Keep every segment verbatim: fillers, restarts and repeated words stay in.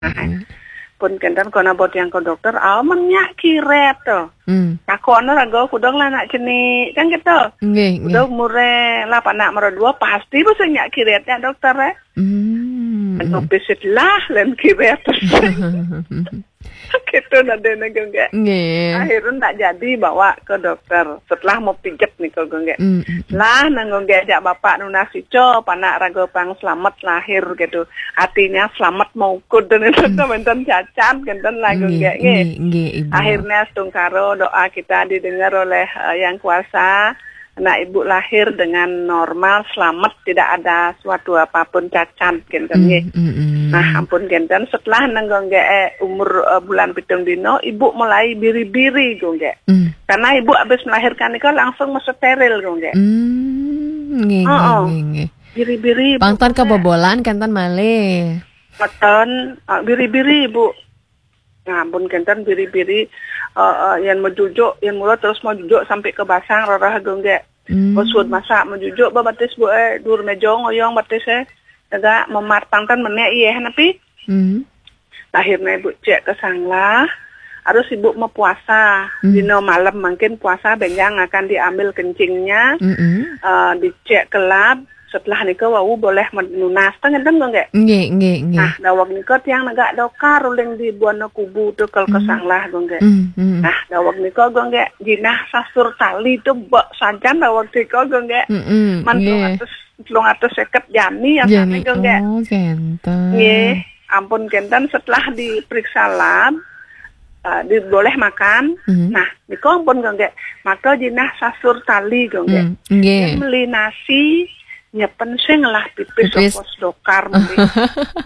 Nah, pun kenten kono bot yang ke dokter, amen nyak kiret to. Hmm. Takon raga kudong lah nak cenik, kan gitu. Nggih, nggih. Kudong mure lah panak mara dua, pasti bisa nyak kiret ya dokter, eh. Hmm. Ngopi lah, len kiret. Gitu nadene, Gung Gek. Nggih. Akhirnya tak jadi bawa ke dokter. Setelah mau pijet nih, Gung Gek. Hmm, hmm, hmm. Lah, nang Gung Gek jak bapak nunas ico, panak raga pang selamat lahir gitu. Artinya selamat mau ukud dan itu Hmm. Wenten cacat, kenten lah, Gung Nggih, Gek, nggih. Nggih, nggih, Ibu. Akhirnya setungkaro doa kita didengar oleh, eh, Yang Kuasa. Anak ibu lahir dengan normal, selamat, tidak ada suatu apapun cacat, kenten, Hmm, nggih. Hmm, hmm. Nah, ampun kenten, setelah nang Gung Gek, eh, umur, eh, bulan pitung dino, ibu mulai biri-biri, Gung Gek. Hmm. Karena ibu habis melahirkan itu langsung mau steril, Gung Gek. Hmm, nggih, nggih, Oh, oh. Nggih, nggih. Biri-biri, ibu, Pang ten Gung Gek. Kebobolan, kenten malih. Mboten, ah, biri-biri, Bu. Nah, ampun kenten biri-biri, eh, eh, yang mau jujuk, yang mula terus mau jujuk sampai ke basang, rarah, Gung Gek. Hmm. Bos suud masak mau jujuk, babatis, Bu, eh, dur meja ngoyong batis, eh. Tegak memat pang ten menek, iya, napi? Hmm. Akhirnya ibu cek ke sanglah, harus ibu mau puasa. Hmm. Dino malam mungkin puasa benjang akan diambil kencingnya, Mm-mm. eh, dicek ke lab, setelah nika wau boleh menunas, teng enten, Gung Gek? Nggih, nggih, nggih. Nah, daweg nika tiang negak dokar uling di Buana Kubu tu kal ke Hmm. sanglah, Gung Gek. Hmm, hmm. Nah, daweg nika, Gung Gek, jinah sasur tali tu bek sajan daweg nika, Gung Gek. Mm-mm, Man telung nggih. atus, telung atus seket jani asane, Jani, Gung Gek. Oh, kenten. Nggih, ampun kenten setelah diperiksa lab, eh, di, boleh makan. Hmm. Nah, nika ampun, Gung Gek. Maka jinah sasur tali, Gung Gek. Hmm, nggih. Yang meli nasi, nyepen sing lah pipis Pipis. Ongkos dokar meli.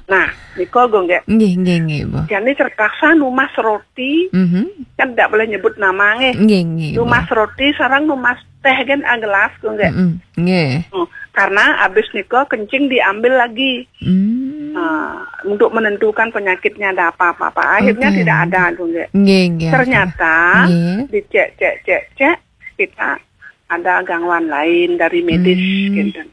Nah, nika, Gung Gek. Nggih, nggih, nggih, Bu. Jani terpaksa numas roti, Mhm. kan tidak boleh nyebut nama, nggih. Nggih, nggih, Bu. Numas roti sarang numas teh kan agelas, Gung Gek. Mm-mm, nggih. Hmm, karena habis nika kencing diambil lagi. Hmm. Nah, untuk menentukan penyakitnya ada apa-apa. Akhirnya Oke. tidak ada, Gung Gek. Nggih, nggih, Ternyata oke. Nggih. dicek, cek, cek, cek, kita ada gangguan lain dari medis, Hmm. kenten.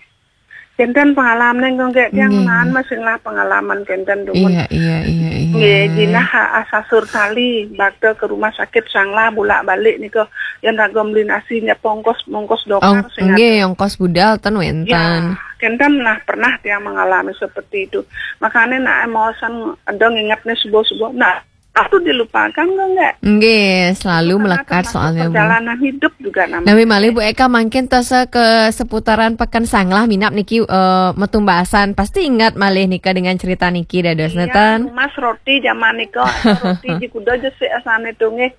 Kenten pengalaman, Gung Gek, yang Nggih, nan nggih. masih lah pengalaman kenten, dumun. Iya, iya, iya, iya. Nggih, jinah ha-, asasur tali, bakte ke rumah sakit sanglah bulak balik nika, yang raga meli nasi nyep ongkos, mongkos dokar Ong-, sing nggih, ada. Ongkos budal ten wenten. Ya, kenten lah pernah tiang mengalami seperti itu. Makanya nak emosan, ada nginget nih subuh-subuh. Nah, itu dilupakan, Gung Gek? Nggih, selalu Itu karena melekat termasuk soalnya, Bu. perjalanan hidup juga namanya. Nami malih, Bu Eka, mangkin tasa ke seputaran Peken Sanglah minap niki, eh, metumbasan. Pasti ingat malih nika dengan cerita niki, dados Iya, neten? numas roti zaman nika, atau roti di kuda je sik asane tu nggih.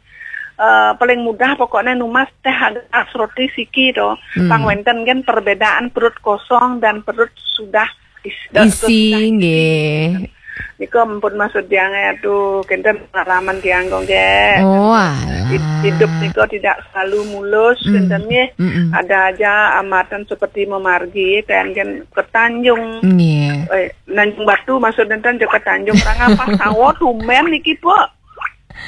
Eh, paling mudah pokoknya numas teh agelas roti siki to. Hmm. Pang wenten kan perbedaan perut kosong dan perut sudah is-, Isi, sudah isi. nggih. Nika ampun maksud tiang ya tu, kenten pengalaman tiang, Gung Gek. Oh, alah. Hid-, hidup nika tidak selalu mulus, Mm. kenten nggih. Mm-mm. Ada aja hambatan seperti memargi, kan, kan ke Tanjung. Nggih. Eh, Tanjung Batu maksud enten je ke Tanjung. Rangga pas tawa tumben niki, Pok.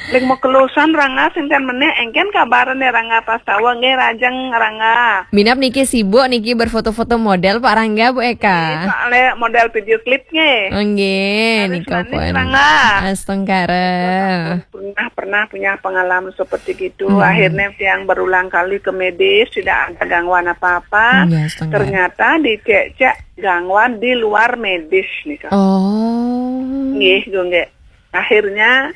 Ling mau kelusan Rangga sing kan menek, engken kabarane Rangga pas tawa, nggih, rajeng Rangga. Minap niki sibuk niki berfoto-foto model, Pak Rangga, Bu Eka. Nggih, soale model video klip nggih. Oh, nggih, Harus nika manis, pun. Rangga. Astungkara. Pernah, pernah punya pengalaman seperti gitu. Hmm. Akhirnya tiang berulang kali ke medis, tidak ada gangguan apa-apa. Nggih, astungkara. Ternyata dicek-cek gangguan di luar medis nika. Oh. Nggih, Gung Gek. Akhirnya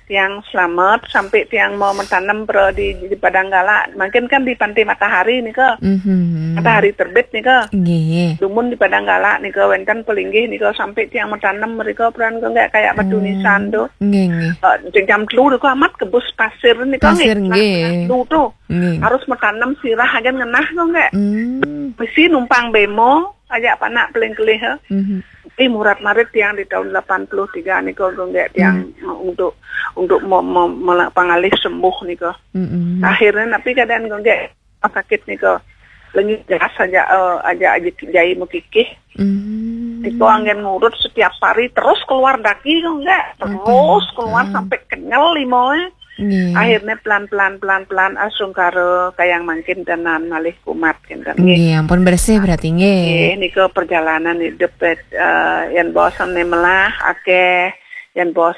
tiang selamat sampai tiang mau menanam pro di, di Padang Gala. Mungkin kan di Pantai Matahari nika. Mhm. Matahari terbit nika. Nggih. Dumun di Padang Gala nika wenten pelinggih nika sampai tiang menanam mereka peran ke nggak kayak batu Hmm. nisan tu. Nggih, nggih. Eh, jam telu tu amat kebus pasir nika Pasir, nggih. Lah, nggih. Telu tu. Nggih. Harus menanam sirah aja ngenah tu nggak. Hmm. Mesti numpang bemo, ajak panak peling kelih, eh. Mhm. Eh, murat marit tiang di tahun delapan puluh tiga nika, Gung Gek, tiang Hmm. untuk, untuk mo-, mo-, mela-, pangalih sembuh nika. Mm-mm. Akhirnya, tapi keadaan Gung Gek sakit nika. Lengi gas aja, eh, aja, aja jai mekikih. Hmm. Nika angin ngurut setiap hari, terus keluar daki, Gung Gek. Terus Oke. keluar Ah. sampai kenyal limoe. Nggih. Akhirnya pelan-pelan, pelan-pelan, astungkara kayang mangkin tenan malih kumat, kenten, nggih. Nggih, ampun bersih berarti, nggih. Nggih, nika perjalanan hidup, eh, yang bosen nih melah, akeh Jan Bos